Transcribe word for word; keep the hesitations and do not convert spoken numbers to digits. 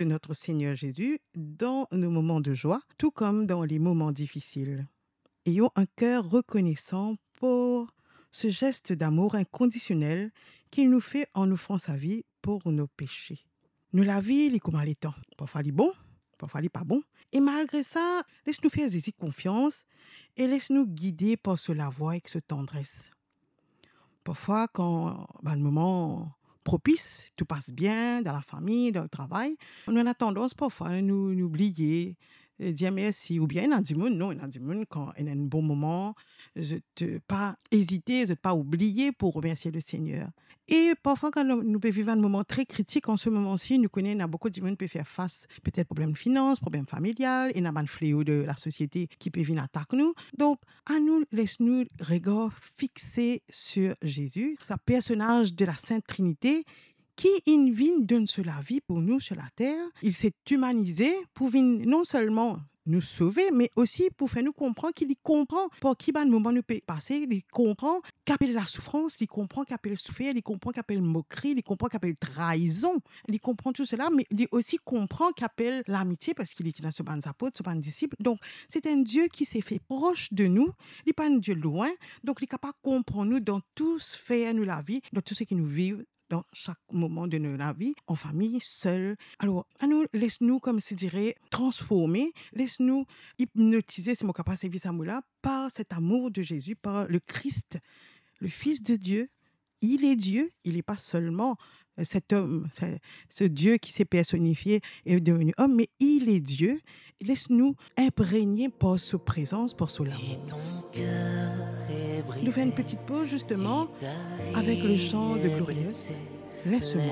de notre Seigneur Jésus dans nos moments de joie, tout comme dans les moments difficiles. Ayons un cœur reconnaissant pour ce geste d'amour inconditionnel qu'il nous fait en offrant sa vie pour nos péchés. Nou lavi, li kouma letan. Parfwa li bon, parfwa li pa bon. E malgre sa, les nou fer Zezi konfians e les nou gide par so lavwa ek so tandres. Parfwa, kan bann moman propis, tou pas bien dan lafami, dan letravay, nou ena tandans parfwa nou, nou bliye, eh, dir mersi. Oubien ena dimoun, non, ena dimoun kan ena enn bon moman, zot, eh, pa ezite, zot pa oubliye pou remersie Lesegner. E parfwa, kan nou, nou pe viv enn moman tre kritik, an se moman si, nou kone ena boukou dimoun pe fer fas petet problem finans, problem familial, ena bann fleo de lasosiete ki pe vinn atak nou. Donk, anou les nou regar fixe sur Jésus, sa personaz de la Sint Trinite, ki inn vinn donn so lavi pou nou sur later. Il s'est humanisé pou vinn non selman nou sove, me osi pou fer nou konpran ki li konpran par ki bann moman nou pe pase, li konpran ki apel lasoufrans, li konpran ki apel soufer, li konpran ki apel mokri, li konpran ki apel traizon, li konpran tou sela, me li osi konpran ki apel lamitie, parski li ti dan so bann apot, so bann disip. Donk, se enn Die ki se fer pros de nou, li pa enn Die lwin, donk li kapav konpran nou dan tou sfer nou lavi, dan tou seki nou viv, dan sak moman de nou lavi, an fami, sel. Alor, anou, les nou, kouma si dire, transforme, les nou ipnotize, si mo kapav servi sa mo la, par cet amour de Jésus, par le Christ, le Fils de Dieu. Il est Dieu, il n'est pas seulement, euh, cet homme, ce, ce Dieu qui s'est personnifié et est devenu homme, mais il est Dieu. Les nou inpregne par so prezans, par so lamour. Nou fer enn ti poz, zisteman, avek le chant de Glorieuse, Laisse-moi.